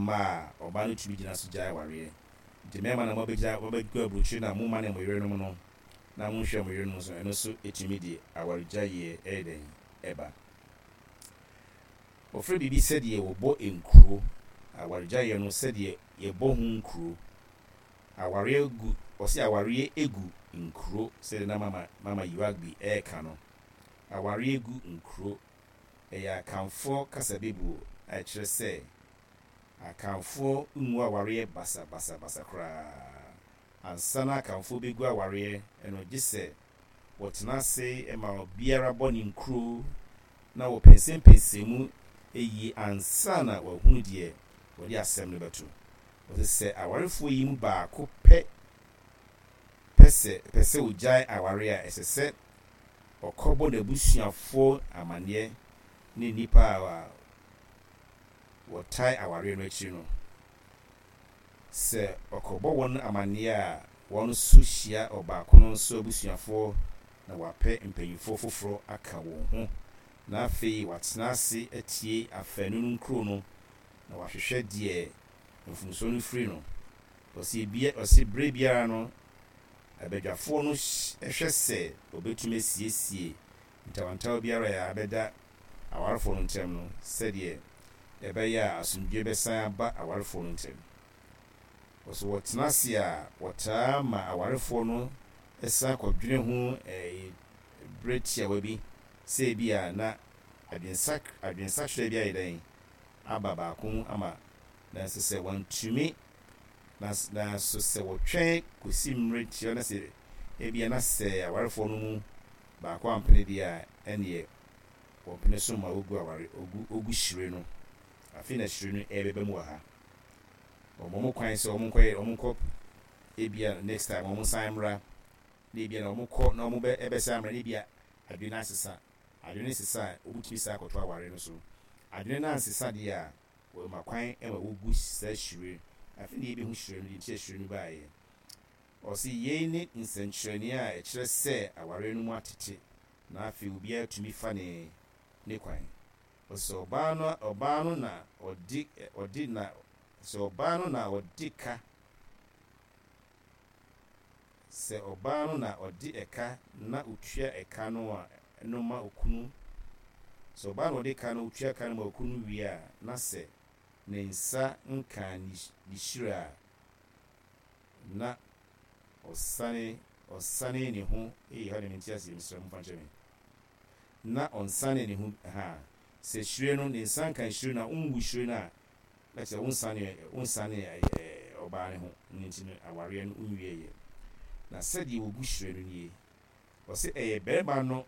Mma a, ɔbaa no tumi gyina so gyae awareɛ. Nti mmarima na moabɛgyina, moabɛgu aburokyire na momane mo yerenom no na monhwɛ mo yerenom so, ɛno nso tumi de awaregyaeɛ ɛyɛ dɛn? Ɛba. Wɔfrɛ biribi sɛdeɛ wɔbɔ nkuro, awaregyaeɛ no sɛdeɛ yɛbɔ ho nkuro. Awareɛ gu, wɔse awareɛ gu nkuro sɛdeɛ na mama, Mama Yiwagbi ɛreka no. Awareɛ gu nkuro. Ɛyɛ Akanfoɔ kasabebuo a ɛkyerɛ sɛ Akanfoɔ ngu awareɛ basabasabasa koraa. Ansa na Akanfoɔ bɛgu awareɛ no gye sɛ wɔtena ase ma obiara bɔ ne nkuro na wɔpɛnsɛmpɛnsɛn mu yie ansa na wɔahunu deɛ wɔde asɛm no bɛto. Wɔse sɛ awarefoɔ yi mu baako pɛ pɛ sɛ pɛ sɛ ɔgyae awareɛ a, ɛsɛ sɛ ɔkɔbɔ n'abusuafoɔ amanneɛ ne nnipa a wɔtae awareɛ no akyiri no. Sɛ ɔkɔbɔ wɔn amanneɛ a, wɔn nso hyia ɔbaako no nso abusuafoɔ na wɔapɛ mpanimfoɔ foforɔ aka wɔn ho na afei wɔatena ase atie afaanu no nkuro no na wɔahwehwɛ deɛ mfomsoɔ no firi no. Ɔse bia ɔse berɛ biara no abadwafoɔ no hwɛ sɛ wɔbɛtumi asiesie ntawantawa biara a abɛda awarefoɔ no ntam no sɛdeɛ ɛbɛyɛ a asomdwoeɛ bɛsan aba awarefoɔ no ntam. Ɔse wɔtena ase a wɔtaa ma awarefoɔ no san kɔdwene ho berɛ tiawa bi sɛ ebia na adwensak adwensakyera bi ayɛ dɛn aba baako mu ama nanso sɛ wɔantumi Na nanso sɛ wɔtwɛn kɔsi mmerɛ tiawa na sɛ ebia na sɛ awarefoɔ no mu baako ampene deɛ a, ɛnneɛ wɔmpene so ma wɔgu aware, wɔgu, wɔgu hyire no. Afei na hyire no ɛrebɛba mu wɔ ha. Wɔma wɔn kwan sɛ wɔnkɔyɛ, wɔnkɔ ebia next time wɔnsan mmra, na ebia na wɔkɔ na wɔbɛ, ɛbɛsan mmra na ebia adwene no asesa. Adwene no sesa a, wɔbɛtumi san akɔto aware no so. Adwene no ansesa deɛ a, Wɔma kwan ma wogu saa hyire. Afei na yɛbɛhu hyire no, deɛ nti a hyire no baeɛ. Ɔse yei ne nsɛnkyerɛnneɛ a ɛkyerɛ sɛ awareɛ no mu atete na afei obiara tumi fa ne ne kwan. Ɔse sɛ ɔbaa no ɔbaa no na ɔde ɔde na sɛ ɔbaa no na ɔde ka Sɛ ɔbaa no na ɔde ɛka na otua ɛka no a no ma okunu, sɛ ɔbaa na ɔde ka na otua ka no ma okunu no wie a, na sɛ ne nsa nkaa ne ne hyira a, na ɔsane ɔsane ne ho, ei ɛhɔ deɛ mente aseɛ mesrɛ momfa nkyɛ me, na ɔnsane ne ho ahaa, sɛ hyire no ne nsa nka hyire no a, wonwu hyire no a, Na kyerɛ wonsanee wonsanee ɔbaa no ho no nti no awareɛ no nwieɛ. Na sɛdeɛ wɔgu hyire no nie, ɔse ɛyɛ barima no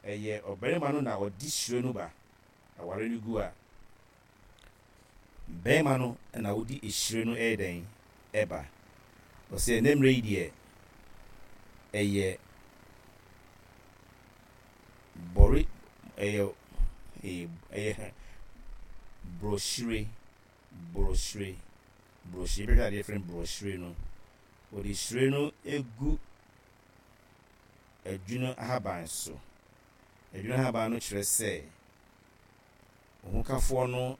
ɛyɛ ɔbarima no na ɔde hyire no ba awareɛ no gu a, barima no na ɔde hyire no ɛyɛ dɛn ɛba. Ɔse ɛnɛ mmerɛ yi deɛ ɛyɛ Bɔre ɛyɛ ɛyɛ borɔhyire borɔhyire borɔhyire bɛhwɛ adeɛ yɛfrɛ no borɔhyire no wɔde hyire no gu adwunu ahaban so adwunu ahaban no kyerɛ sɛ ohokafoɔ no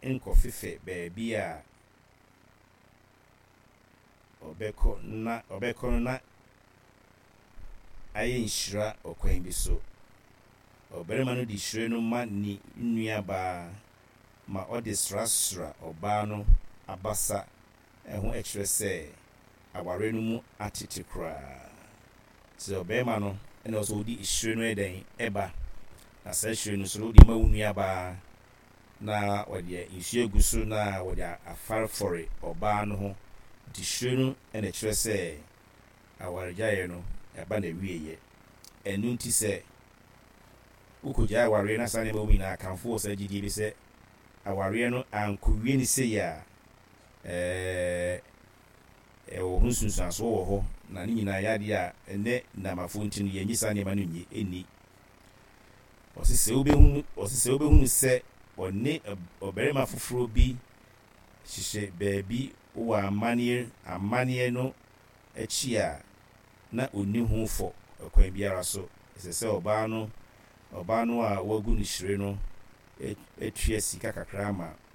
nkɔfefɛ baabi a ɔbɛkɔ na ɔbɛkɔ no na ayɛ nhyira ɔkwan bi so. Ɔbarima no de hyire no ma ne nuabaa ma ɔde srasra ɔbaa no abasa ho kyerɛ sɛ aware no mu atete koraa. Sɛ ɔbarima no na ɔsɛ ɔde hyire no yɛ dɛn ba, na saa hyire no nso no wode ma wo nuabaa na wɔde nsuo agu so na wɔde afarefɔre ɔbaa no ho. Nti hyire no na ɛkyerɛ sɛ awaregyaeɛ no ɛba n'awieɛ. Ɛno nti sɛ wokɔgyae awareɛ na saa nneɛma wɔ mu nyinaa, Akanfoɔ wɔ saa gyidie bi sɛ awareɛ no ankɔwie no sei a, ɛɛ ɛwɔ ho nsunsuansoɔ wɔ hɔ na ne nyinaa yɛ adeɛ a ɛnnɛ nnamafoɔ nti no yɛnnye saa nneɛma no nnye nni. Ɔse sɛ wobɛhunu, ɔse sɛ wobɛhunu sɛ ɔne ɔbarima foforɔ bi hyehyɛ baabi wɔ amanneɛ, amanneɛ no akyi a, na ɔnni ho fɔ kwan biara so. Ɛsɛ sɛ ɔbaa no, ɔbaa no a wɔagu no hyire no atua sika kakra ama.